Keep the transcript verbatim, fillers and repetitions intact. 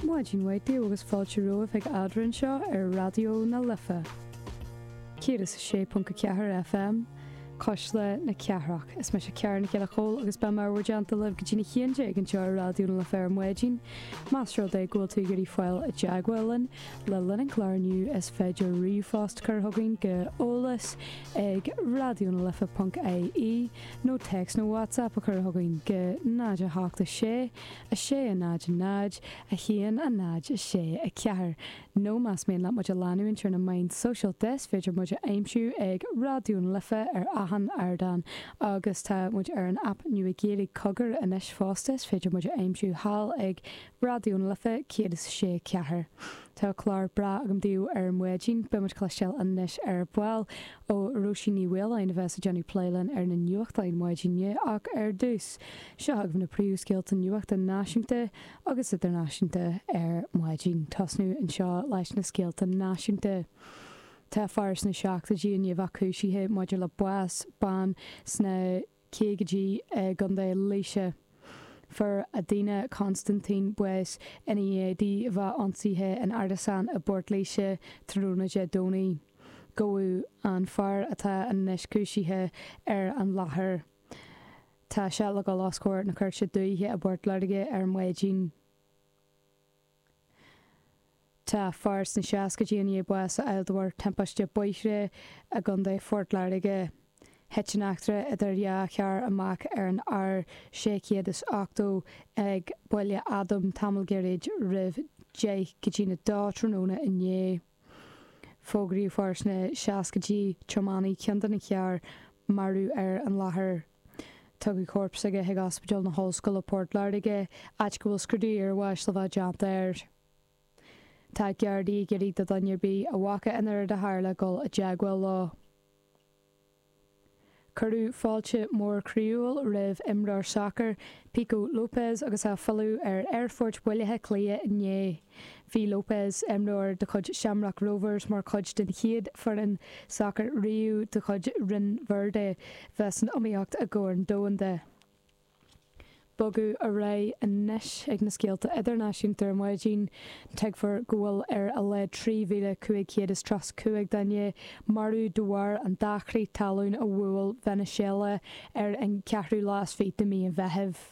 Maidin mhaith daoibh agus fáilte romhaibh ag Eadrainn seo ar Raidió na Life. Céad is a sé ponc a ceathair FM, Cuisle na Cathrach. Is mise Ciara Nic Giolla Chóill agus beidh mé i bhur dteannta libh go dtí a haon déag anseo ar Raidió na Life ar maidin. Más rud é go bhfuil tú ag iarraidh fáil i dteagmháil linn le linn an chláir inniu is féidir ríomhphost a chur chugainn go eolas ag raidionalife ponc ie nó téacs nó WhatsApp a chur chugainn go náid a hocht a sé a sé a náid a náid a haon a náid a sé a ceathair nó más mian leat muid a leanúint ar na meáin sóisialta is féidir muid a aimsiú ag Raidió na Life ar achan ardán agus tá muid ar an aip nua Gaeilge Cogar anois fosta is féidir muid a aimsiú thall ag Raidió na Life céad is a sé ceathair. Tá clár breá agam daoibh ar maidin, beidh muid ag cloisteáil anois ar ball ó Róisín Ní Mhaoláin a bheas ag déanamh plé linn ar na nuachtáin maidin inniu ach ar dtús, seo agaibh na príomhscéalta nuachta náisiúnta agus idirnáisiúnta ar maidin. Tosnú anseo leis na scéalta náisiúnta. Tá fear sna seachtóidí i ndiaidh a bheith cúisithe maidir le bás bean sna caogaidí i gContae Laoise. Fuair Adina Constantine bás ina dhiaidh di a bheith ionsaithe in árasán i bPort Laoise tráthnóna Dé Domhnaigh. Gabhadh an fear atá anois cúisithe ar an láthair. Tá sé le dhul os comhair na Cúirte Dúiche i bPort Láirge ar maidin. Tá fear sna seascaidí i ndiaidh bás a fháil de bharr timpiste bóithre i gContae Phort Láirge. Thit an eachtra idir dhá charr amach ar an R sé chéad is ochtó ag Baile Adaim tamall gairid roimh deich go dtí a dó tráthnóna inné. Fógraíodh fear sna seascaidí, tiománaí ceann de na cairr, marbh ar an láthair. Tugadh corp s'aige chuig Ospidéal na hOllscoile Port Láirge, áit go bhfuil scrúdú iarbháis le bheith déanta air. Tá Gardaí ag iarraidh do dhuine ar bith a bhfaca an rud a tharla dul i dteagmháil leo. Cuireadh fáilte mór croíúil roimh imreoir sacair, Pico Lopes agus é ag filleadh ar Aerfort Bhaile Átha Cliath inné. Bhí Lopes, imreoir de chuid Shamrock Rovers, mar chuid den chéad foireann sacair riamh de chuid Rinn Verde bheith san iomaíocht i gCorn Domhanda. Bogadh ar aghaidh anois ag na scéalta idirnáisiúnta ar maidin. Tuigtear go bhfuil ar a laghad trí mhíle cúig chéad is tríocha cúig duine marbh de bharr an dá chrith talún a bhuail Veiniséala ar an ceathrú lá is fiche de mhí an Mheithimh.